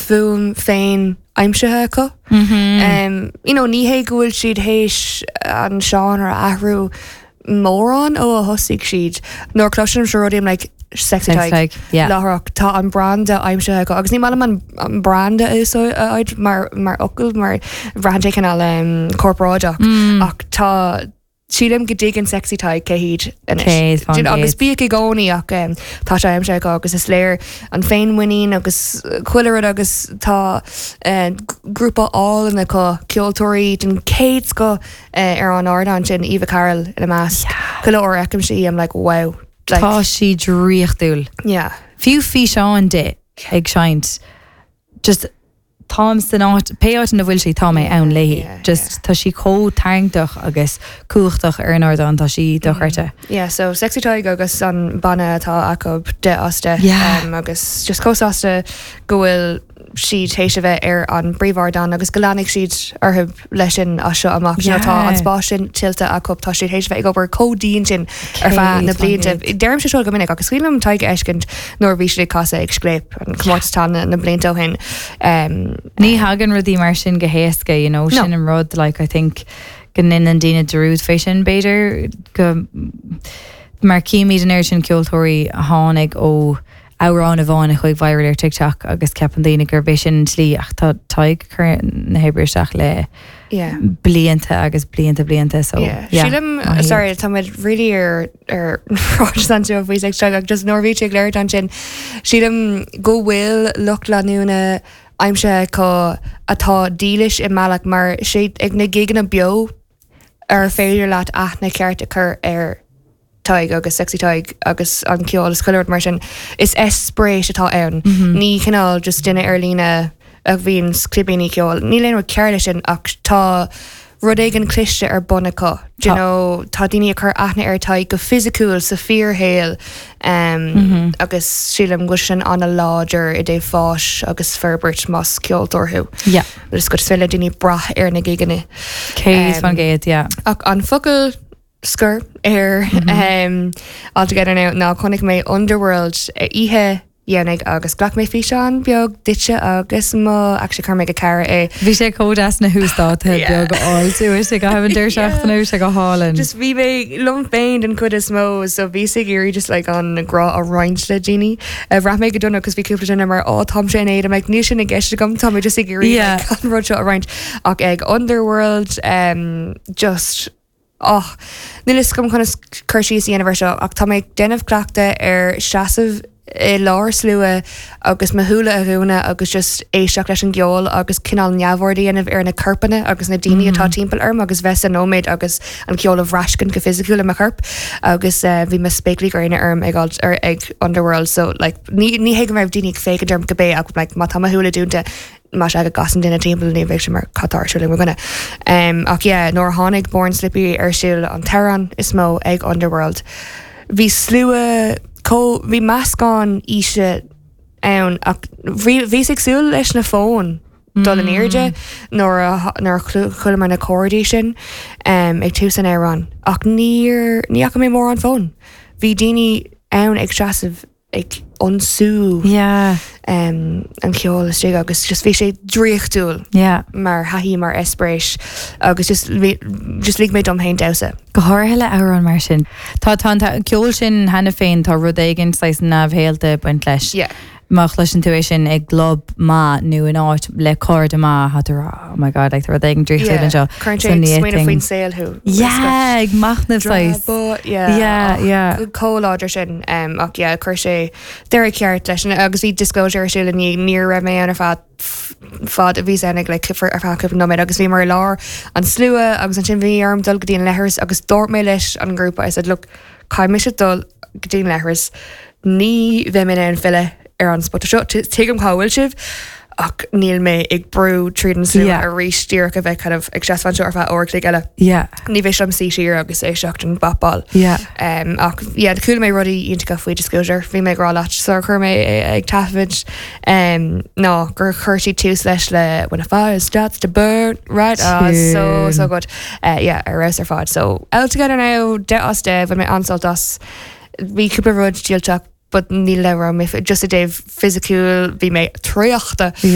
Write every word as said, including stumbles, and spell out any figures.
fuaim féin aimsithe acu. Mm -hmm. Um, you know, ní hé go bhfuil siad théis an seánra a athrú mórán ó a thosaigh siad. Nuair cloisim seo rudaí like Sexy Sexy Tadhg Tadhg, yeah. Láithreach tá an branda aimsithe acu agus ní maith liom an an branda a úsáid mar mar fhocal mar braitheann sé cineál um, corparáideach Mm. ach tá sílim go dtuigeann Sexy Tadhg cé hiad anois. Céad faoin Do you know, agus gcéad. bíodh i gcónaí ach um, tá sé aimsithe acu agus is léir an féinmhuinín agus chuile rud agus tá uh, grúpa álainn acu ceoltóirí den chéad scoth uh, ar an ardán sin Eva Carroll ina measc. Chuile uair a fheicim sí I'm like wow. Like, Tá sí draíochtúil. yeah. Fiú físeán di ag seinnt just táim san áit pé áit ina bhfuil sí tá mé ann léi. Yeah, Just tá sí chomh tarraingteach agus cumhachtach ar an ardán tá sí dochreidte. Yeah, so Sexy Tadhg agus an banna atá acu deich as deich Yeah. um, agus just chomh sásta go bhfuil siad théis a bheith ar an bpríomhardán agus go leanfaidh siad orthu leis sin as seo amach. You know, Tá an Yeah. spás sin tuillte acu tá siad théis bheith ag obair chomh dian sin ar feadh na Céad faoin blianta. gcéad. Deirim sé seo go minic agus cuimhin liom Tadhg a fheiscint nuair bhí siad ag casadh ag Scléip an comórtas tallann na blianta ó shin. Um, Ní thagann rudaí mar sin go héasca, you know, No. sin an rud like I think go ndéanann daoine dearúd fé sin b'fhéidir go mar címid an oiread sin ceoltóirí a tháinig ó amhrán amháin a chuaigh viral ar TikTok agus ceapann daoine gur bé sin an tslí ach tá Tadhg ag cur na hoibre isteach le yeah. blianta agus blianta blianta so Yeah. yeah, Sílim maith iad. sorry tá muid really ar ar ráid faoi ag ag just nuair bhí ag léir sin sílim go bhfuil lucht leanúna aimsithe acu atá dílis i mbealach mar sé ag na giganna beo ar féidir leat aithne ceart a chur ar Tadhg agus Sexy Tadhg agus an ceol is chuile rud mar sin is eispéireas atá ann. Ní cineál just duine ar líne a bhíonn clibíní ceol. Níl aon rud cearr leis sin ach tá rud éigin cliste ar bun acu. Do you Tá. know, tá daoine ag cur aithne ar Tadhg go fisiciúil sa fíorshaol um, agus sílim go sin an-láidir i dtaobh fáis agus forbairt más ceoltóir thú. Yeah. Agus go féidir le daoine brath ar na giganna. Céad Um, faoin gcéad, yeah. Ach an focal scoir ar um, All Together Now ná chonaic mé Underworld eh, oíche dhéanach agus ghlac mé físeán beag duitse agus mo actually chuir mé go cara é. Bhí sé chomh deas na huasdáta Yeah. beag áil sé go han deir seachtain sé go hálainn. Just bhí mé liom féin den chuid is mó so bhí sé iarraidh just like an grá a roinnt le daoine. Uh, Bhraith mé go dona cos bhí cúpla duine mar á tá sé in éad like, níl sin i gceist agam tá mé just ag iarraidh Yeah. like, an rud seo a roinnt ach ag Underworld um, just oh, níl fhios agam chun cur síos dhéanamh seo ach tá mé ag déanamh cleachtadh ar seasamh i lár slua agus mo shúile a dhúnadh agus just éisteacht leis an gceol agus cineál neamhaird a dhéanamh ar na corpanna agus na daoine atá timpeall orm agus bheith sa nóiméad agus an ceol a bhraithscint go fisiciúil i mo chorp agus uh, bhí mo spéaclaí gréine orm ag alt- ar ag Underworld so like, ní ní hé go raibh daoine ag féachaint orm go bé ach like, má tá mo shúile dúnta má sé go gcasann duine timpeall ní bheidh sé mar cad tá ar siúl le mo dhuine. Um, ach yeah, nuair a tháinig Born Slippy ar siúl an t-amhrán is mó ag Underworld. Bhí slua có bhí meascán aoise ann ach bhí bhí ag súil leis na fóin dul in airde nuair a nuair a chuala mar na códaí sin um, ag tús an amhráin ach níor ní fhaca mé mórán fón. Bhí daoine ann ag seasamh ag ionsú Yeah, um, an ceol istigh agus just bhí sé draíochtúil yeah. mar thaithí mar eispéireas agus just bhí- just lig mé dom féin damhsa. Go háirithe le amhrán mar sin. Tá tá tá ceol sin cheana féin tá rud éigin saghas neamhshaolta ag baint leis. Yeah. Má chloiseann tú é sin ag club maith nó in áit le cairde maith tá oh my god like rud éigin draíochtúil anseo. Cuireann So sé ní smaoineamh fhéadfainn- faoin saol thú. Yeah, ag machnamh saghas. Yeah, Yeah, yeah. Chomh láidir sin um, ach yeah, chuir sé deireadh ceart leis an agus bhí Disclosure ar siúl ní ní raibh mé ann ar feadh fad a bhí ag le cifir ar feadh cúpla nóiméad agus bhí mar lár an slua agus ansin bhí orm dul go dtí an leithreas agus dúirt mé leis an grúpa I said look caithfidh mise dul go dtí an leithreas ní bheidh mé in ann filleadh ar an spota seo tuigim cá bhfuil sibh ach níl mé ag brú tríd an slua Yeah. arís díreach a bheith kind of ag seasamh anseo ar feadh uair chloig eile. Yeah, Ní bheidh liom suí siar agus éisteacht an bapáil. yeah. Um, ach yeah, chuala mé rudaí iontacha faoi Disclosure, bhí mé ag rá leat sar chuir mé ag taifead um, ná gur chuir sí tús leis le when a fire starts to burn right ah, so so good uh, yeah, ar fheabhas ar fad so All Together Now deich as deich bhain mé an-sult as bhí cúpla rud díoltach but ní le mé just i dtaobh fisiciúil bhí mé traochta Yeah.